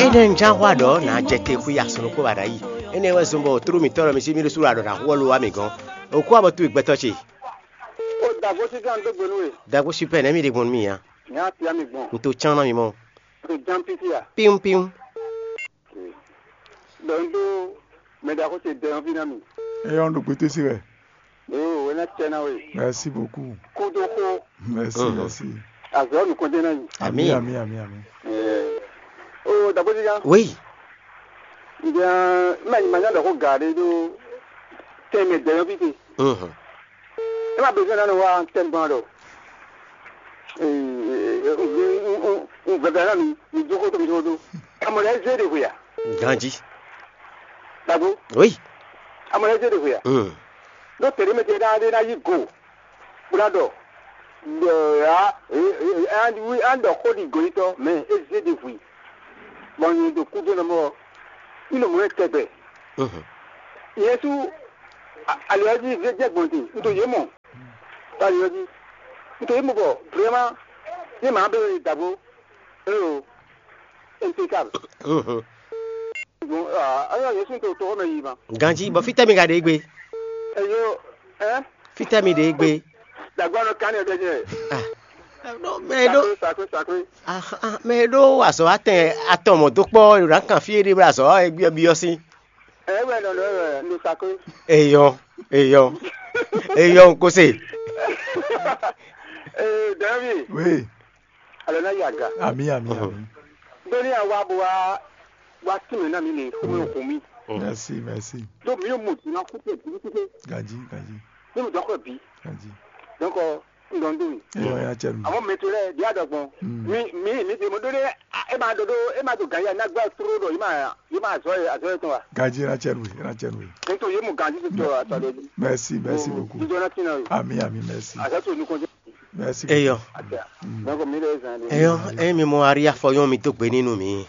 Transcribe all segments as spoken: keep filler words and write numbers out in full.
Énɛ́ un ján xwá ɖɔ nǎ jɛ te xwí asɔnukpó ba ɖ'ayǐ. Énɛ́ wɛ zɔn bɔ tlú mǐtɔn ɖɔ mi cí mì ɖésú ɖo aɖɔ̌ ná hu wɔ lo wá mǐ gɔ́n. Òkú abɔ towe gbɛtɔ́ ce. Ó dàgbó títí à ń dó gbe nú we. Dagbo super nɛ̌ mi ɖe gbɔn nú mì nya? Nya tia mi gbɔn. Un to cán ná mi mɔ. To ján pípí à. Píwún píwún. Ɖɔ un dó mɛ ɖaxó ce dɛ ɔ́ ví ná mi. Eyɔ́ ɖo gbétésí wɛ. Ɖo wɛ ná cɛ ná we. Merci beaucoup. Kúdó xó. Merci, merci. Azɔ nukɔn dé ná yi. Ami, ami, ami, ami. O dàgbó títí à. Oui. Ǹjẹ́ mɛ nyí ma nya ɖɔ xó gǎ ɖé ɖó tɛnmɛ dɛ ɔ́ ví te. Mhm. E ma besoin ná nɔ wá tɛngbɔn ɖɔ. Un vɛvɛ ná mi mi dó xó tó mi dó dó. Amɔ lɛ zé ɖe hwe a? Ganji. Dagbo. Oui. Amɔ lɛ zé ɖe hwe a? Mm. Ɖó tɛɖé mɛ tɛ ná ɖe ná yí go. Bó ná ɖɔ. Ɖɔ ya an ɖɔ xó ɖi gɔyitɔ mɛ é zé ɖe hwe. Bɔn nyɛ ɖo kúdó nɔ mɔ. Ní nɔ mɔ ɛ tɛgbɛ. Mhm. Yɛsu ali ɔ́ jí zé jɛ gbɔn din. Un to yě mɔ. Bali ɔ́ jí. Un to yě mɔ bɔ vraiment yé mǎ bɛ wɛ dǎbó. Eo. Impeccable. Mhm. Bon, ah, ayɔ Yesu to to mɛ yi ma. Ganji, bɔ fítɛ́ mi ka ɖe gbe? Eyo, hein? Fítɛ́ mi ɖe gbe? Dàgbà nɔ kánì ɛgbẹ́ jẹ. Ah. Mɛ ɖó. Sakwe, sakwe, sakwe. Ah, ah, mɛ ɖó azɔ atɛn atɔn mɔ dó kpɔ ɖo ná kan fí ɖé bla azɔ ɛ gbí ɔbí ɔ́ sí. Ɛ wɛ nɔ nɔ wɛ nɔ sakwe. Eyɔ, eyɔ, eyɔ nkose. Ee, David. Oui. Alɔ na yi aga. Ami, ami, ami. Doni awa bo wa wa tún mɛ na mi le xɔmɛ xɔmi. Merci, merci. Donc mi yóò mú dùn náà kúkú kúkú. Gaji, gaji. Ní mo dɔkɔ bi. Gaji. Donc n dɔn dun. Eyɔ ya cɛ mi. Àwọn mɛtò lɛ di adɔgbọn. Mm. Mi mi mi de mo do de e ma do do e ma do gan ya na gba turu do e ma e ma azɔ ye azɔ ye tɔn wa. Gaji na cɛ mi, na cɛ mi. Nítorí yé mo gan títí tó àtàlẹ́. Merci, merci beaucoup. Jíjọ náà tì náà yìí. Ami, ami, merci. Àṣà tó nukun jẹ́. Merci beaucoup. Eyɔ. Àṣà. Mm. Donc mi lè zan de. Eyɔ, emi mo ari afɔyɔn mi dó gbe nínú mi.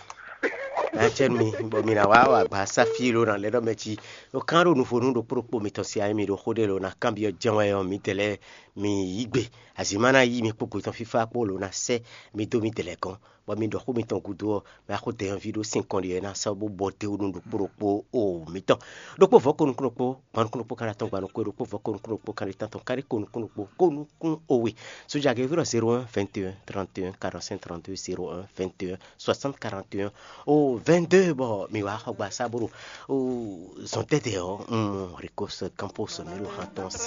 Acɛnu mi, bɔ mi na wá wá gba sáfí ló na lɛ ɖɔ mɛ ci. O kan ɖo nufonu ɖokpó ɖokpó mitɔn si ayi mi ɖo xó ɖé ló na kanbyɔ jɛn wɛ ɔ́, mi tɛ lɛ mi yí gbe. Azǐma ná yí mi kpó gbetɔn fífá kpó ló ná sɛ́ mi dó mi tɛ lɛ gɔ́n. Bɔ mi ɖɔ xó mitɔn gúdo ɔ́, mi wá xo dɛ̌nví ɖó sin kɔn ɖi ɔ́ ná sɔ́ bó bɔ dé wú nú ɖokpó ɖokpó o mitɔn. Ɖokpó vɔ̌ ko nukún ɖokpó, gban nukún ɖokpó, kan ɖo atɔn gban nukún ɖokpó, vɔ̌ ko nukún ɖokpó, kan ɖo tantɔn, kan ɖo ko nukún ɖokpó, ko nukún o we. Soja gɛ́ ví ɖɔ zéro un vingt et un trente et un quarante-cinq trente-deux, zéro un vingt et un soixante quarante et un o vingt-deux, bɔ mi wá xɔ gba sá bó ɖo o zɔn tɛ́tɛ ɔ́, un mɔ Ricos Campos mi ɖo han tɔn